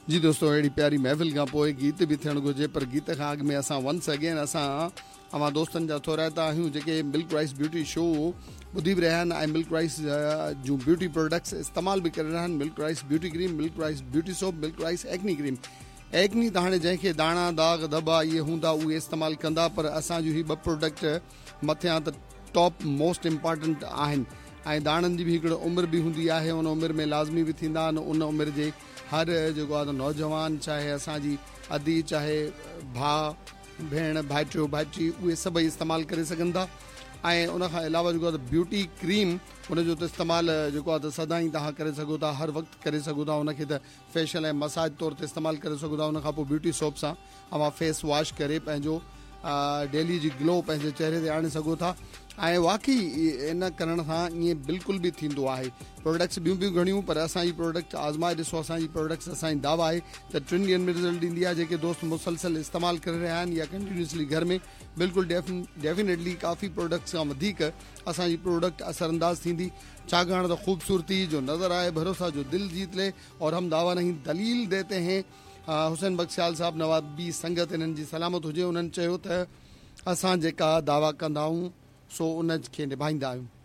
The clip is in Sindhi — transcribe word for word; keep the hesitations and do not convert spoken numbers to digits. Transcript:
جي دوستو، اهڙي پياري محفل کان پوء گيت به ٿيڻ گهرجي، پر گيت کان اڳ ۾ اسان ونس اگين اسان اوهان دوستن جا ٿورائتا آهيون جيڪي ملڪ رائس بيوٽي شو ٻڌي به رهيا آهن ۽ ملڪ رائس جون بيوٽي پروڊڪٽس استعمال به ڪري رهيا آهن. Milk rice beauty cream, milk rice beauty soap, milk rice acne cream. Acne ته هاڻي جنهن کي داڻا، داغ ڌٻا اهي هوندا، اهي استعمال ڪندا، پر اسان جون هي ٻه پروڊڪٽ مٿيان ته ٽاپ موسٽ امپارٽنٽ آهن ۽ داڻن جي به هڪڙي عمر به هوندي آهي، ان عمر ۾ لازمي به ٿيندا آهن. ان عمر جي هر جيڪو آهي نوجوان، چاهي اسان جي ادي، چاهي ڀاء، ڀيڻ، ڀائٽيو، ڀائٽي، اهي سڀئي استعمال ڪري سگهن ٿا. ۽ ان کان علاوه جيڪو آهي بيوٽي ڪريم، ان جو ته استعمال جيڪو آهي ته سدائين توهان ڪري سگهو ٿا، هر وقت ڪري سگهو ٿا. ان کي ته فيشل ۽ مساج طور تي استعمال ڪري سگهو ٿا. ان کان پوء بيوٽي سوپ سان اوهان فيس واش ڪري پنهنجو ڊيلي جي گلو پنهنجي چهري تي آڻي سگهو ٿا ۽ واقعي ان ڪرڻ سان ائين بلڪل به ٿيندو آهي. پروڊڪٽس ٻيون به گهڻيون، پر اسان جي پروڊڪٽ آزمائي ڏسو. اسان جي پروڊڪٽس، اسان جي دعويٰ آهي ته ٽن ڏينهن ۾ رزلٽ ڏيندي آهي. جيڪي دوست مسلسل استعمال ڪري رهيا آهن يا ڪنٽينيوسلي گهر ۾ بلڪل ڊيفينيٽلي ڪافي پروڊڪٽس کان وڌيڪ اسان جي پروڊڪٽ اثر انداز ٿيندي، ڇاڪاڻ ته خوبصورتي جو نظر آئي، ڀروسا جو دل جيت لي اور هم دعويٰ نهين دليل ديتي هين. حسين بخش سيال صاحب، نوابي سنگت انهن جي سلامت هجي، انهن چيو ته اسان جيڪا دعويٰ ڪندا آهيون سو ان کي نڀائيندا آهيون.